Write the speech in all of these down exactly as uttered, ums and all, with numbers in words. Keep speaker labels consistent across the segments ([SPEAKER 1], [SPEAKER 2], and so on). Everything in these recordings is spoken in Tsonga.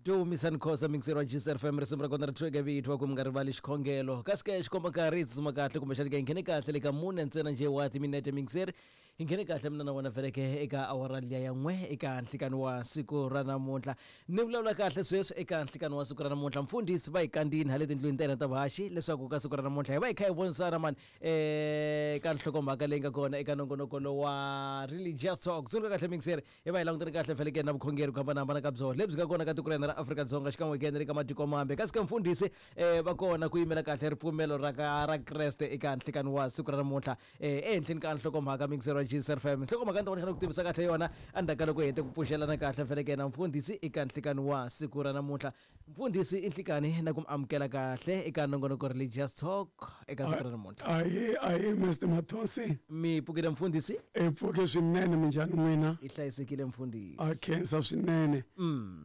[SPEAKER 1] Dumisani Khosa mixer wa G S F M, risimu ra kona ri thweke vito ku mi nga rivali xikhongelo. Kasi ke xikomba nkarhi hi tsutsuma kahle, kumbexani ke hi nghene kahle le ka mune ntsena njhe wa timinete. Mixer, hi nghene kahle mina na wena veleke eka awara liya ya n'we eka nhlikani wa siku ra namuntlha. Ni vulavula kahle sweswi eka nhlikani wa siku ra namuntlha, mfundhisi va hi kandzini hale tindlwini ta hina ta vuhaxi leswaku ka siku ra namuntlha hi va hi kha hi vonisana mani eh ka nhlokomhaka leyi nga kona eka nongonoko lowa Religious Talk. Tsundzuka kahle mixer, hi va hi langutene kahle feleke na vukhongeri ku hambanahambana ka byona lebyi nga kona ka tiko ra hina ra Afrika-Dzonga, xikan'we ke na le ka matiko mambe. Kasi ka mfundhisi um va kona ku yimela kahle ripfumelo ra ka ra Kreste eka nhlikani wa siku ra namuntlha um ehenhleni ka nhlokomhaka. Mixer wa G S F M, nhlokomhaka ni ta vona ku tivisa kahle yona endzhaku ka loko hi hete ku pfuxelana kahle feleke na mfundhisi eka nhlikani wa siku ra namuntlha. Mfundhisi, i nhlikani na ku mi amukela kahle eka nongonoko Religious Talk eka siku ra namuntlha.
[SPEAKER 2] Ahe, ahe, Mister Mathonsi.
[SPEAKER 1] Mi pfukile mfundhisi?
[SPEAKER 2] Hi pfuke swinene, minjhani n'wina?
[SPEAKER 1] Hi hlayisekile mfundhisi.
[SPEAKER 2] A khensa swinene.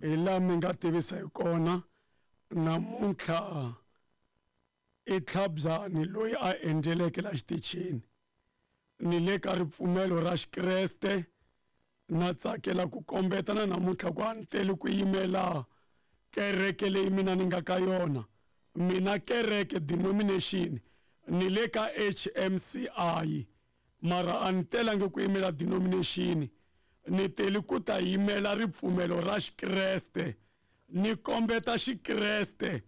[SPEAKER 2] Hi laha mi nga tivisa hi kona, namuntlha i Tlhabyani loyi a endleleke la xitichini, ni le ka ripfumelo ra Xikreste. Na tsakela ku kombeta na namuntlha ku a ni teli ku yimela kereke leyi mina ni nga ka yona. Mina kereke denomination ni le ka H M C I, mara a ni telangi ku yimela denomination, ni teli ku ta yimela ripfumelo ra Xikreste, ni kombeta Xikreste,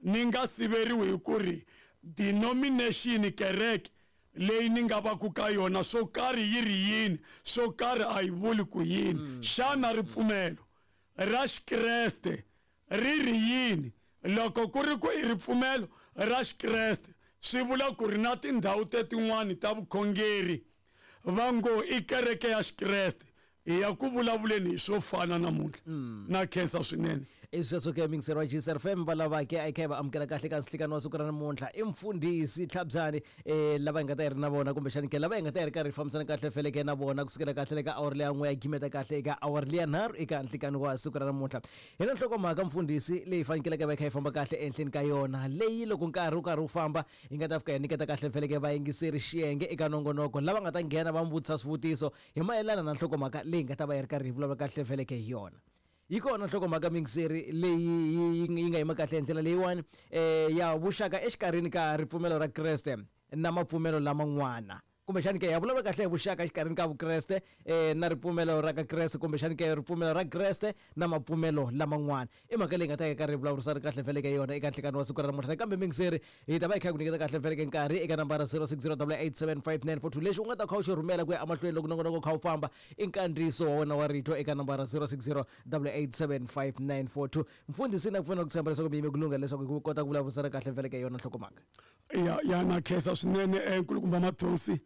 [SPEAKER 2] ni nga siveriwi hi ku ri denomination, kereke leyi ni nga va ku ka yona, swo karhi yi ri yini, swo karhi a yi vuli ku yini. Xana ripfumelo ra Xikreste ri ri yini? Loko ku ri ku i ripfumelo ra Xikreste, swi vula ku ri na tindhawu tetin'wani ta vukhongeri va ngo i kereke ya Xikreste. Hi ya ku vulavuleni hi swo fana namuntlha. Na khensa swinene.
[SPEAKER 1] I sweswo ke, mixer wa G S F M, va lavake a hi kha hi va amukela kahle ka nhlikani wa siku ra namuntlha i mfundhisi Tlhabyani, um lava hi nga ta hi ri na vona, kumbexani ke lava hi nga ta hi ri karhi hi fambisana kahle feleke na vona kusukela kahle le ka awara leya n'we ya gimeta kahle eka awara leya nharhu eka nhlikani wa siku ra namuntlha. Hi na nhlokomhaka mfundhisi leyi fanekeleke va hi kha hi famba kahle ehenhleni ka yona, leyi loko nkarhi wu karhi wu famba hi nga ta fika hi nyiketa kahle feleke vayingiseri xiyenge eka nongonoko, lava nga ta nghena va mi vutisa swivutiso hi mayelana na nhlokomhaka leyi nga ta va yi ri karhi hi vulavula kahle feleke hi yona. Yi kona nhlokomhaka mixeri leyi yi yi nga yima kahle hi ndlela leyiwani um ya vuxaka exikarhini ka ripfumelo ra Kreste na mapfumelo laman'wana, kumbexani ke ya vulavula kahle hi vuxaka exikarhini ka Vukreste um na ripfumelo ra ka Kreste, kumbexani ke ripfumelo ra Kreste na mapfumelo laman'wana. I mhaka leyi nga ta yi karhi hi vulavurisana kahle feleke yona eka nhlikani wa siku ra namuntlha. Nakambe mixeri, hi ta va hi kha hi ku nyiketa kahle feleke nkarhi eka nambara zero six zero eight seven five nine four two. Lexi u nga ta kha u xi rhumela ku ya emahlweni loko nongonoko kha wu famba i nkandziyiso wa wena wa rito eka nambara zero six zero eight seven five nine four two. Mfundhisi, na ku pfuna ku tshemba leswaku mi yime ku lungha leswaku hi kota ku vulavurisana kahle feleke yona nhlokomhaka.
[SPEAKER 2] Ya, ya, na khensa swinene, eh, nkulukumba Mathonsi,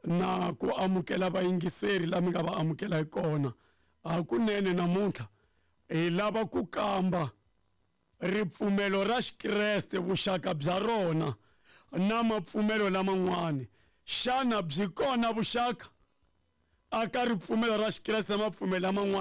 [SPEAKER 2] na ku amukela vayingiseri la mi nga va amukela hi kona. Hakunene namuntlha hi lava ku kamba ripfumelo ra Xikreste, vuxaka bya rona na mapfumelo laman'wani. Xana byi kona vuxaka aka ripfumelo ra Xikreste na mapfumelo laman'wani?